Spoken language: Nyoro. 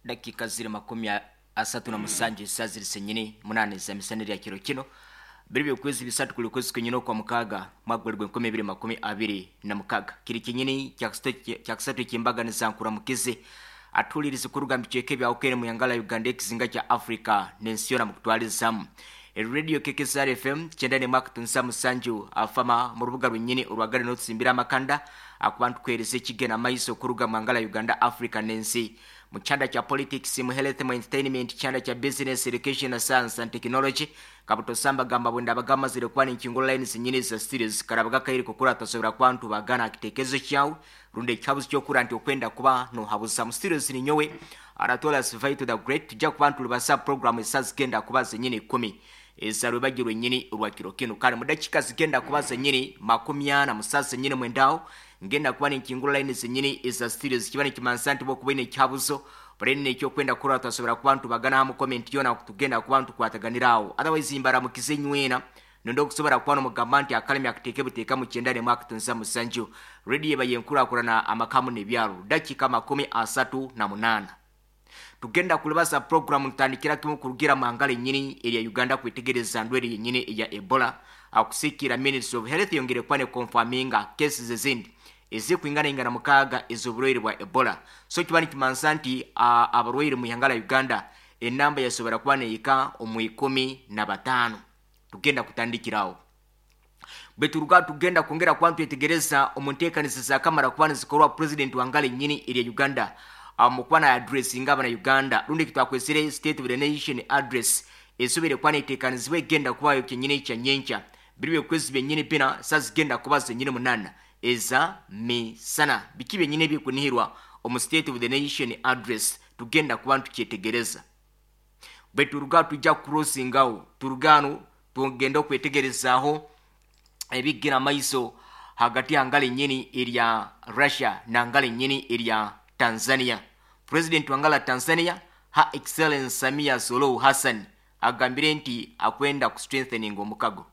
Dakika ziri 37, esaa ziri senyini 8 za misana erya kiro kino, biri byokwezi 3 kuli kwezi kwenyini okwa mukaaga, mwaka guli gw'2026. Kiri kinyini kyakusatu ekyembaganiza. Nkuramukize atuulirize kuruga mubicweka ebyawukene mu yangala Uganda, ekizinga kya Africa n'ensi yona mukutwalizamu. Radio KKSR FM 91.7 afama mu rubuga rwenyini orwagale n'otusimbira amakanda akuba ntukuhereza ekigenda maiso kuruga mu ngala Uganda, Africa n'ensi, mu kyanda kya politics, mu health, mu entertainment, kyanda kya business, education na science and technology. Kabutosamba gamba bwenda bagamazire kuba ninkingo line zinyini za series karabaga kairi kukura tasobora kwantu bagana akitekezo kyawe rundi ekihabuzo kyokura nti okwenda kuba nohabuza mu series. Ninyowe Anatola Svaito the Great. Tujja kuba ntulibasa program esaa zigenda kuba zenyini 10 ezarwebagi rwenyini rwa kiro kino. Kale mu dakika zigenda kuba zenyini 40 musaa zenyini mwendaho ngenda kuba ninkingula line zenyini eza series. Kiba nikimansa nti bokuba ine ekihabuzo barene ekyokwenda kurora, twasobora kuba ntubagana hamu comment yona tugenda kuba ntukwataganiraho. Otherwise mbaramukize nywena nondo okusobola kuba nomugamba nti akalemi akiteeke buteeka mu 91.7 Radio eba yenkulakulana amakamu n'ebyalo. Dakika 38 tugenda kulibasa program. Ntandikira kimu kurugira mu ennyini erya Uganda kwetegereza ndwere yennyini eya Ebola, akusikira Ministry of Health yongere kuba ne confirminga cases ezindi ezikuingana 6 ez'oburwaire bwa Ebola. So kiba nikimansa nti abarwaire mu ihanga la Uganda enamba yasobora kuba neika omu 15. Tugenda kutandikirawo bweturuga tugenda kwongera kuba ntwetegereza omu nteekaniza zakamara kuba nizikorwa president wangala ennyini erya Uganda mukuba na addressinga abana Uganda rundi kitwakwesere State of the Nation Address esobere kuba neteekanizibwa, egenda kubayo kyenyini kya nyenkya biri byokwezi byenyini 4, saa zigenda kuba zenyini 8 eza misana. Biki byenyini ebikunihirwa omu State of the Nation Address? Tugenda kuba ntukyetegereza. Bweturuga tujja crossingawo, turugano tugenda okwetegerezaaho ebigira maiso hagati ya ngala ennyini erya Russia na ngala ennyini erya Tanzania. President wangala Tanzania, Her Excellence Samia Suluhu Hassan, agambire nti akwenda ku strengthening omukago.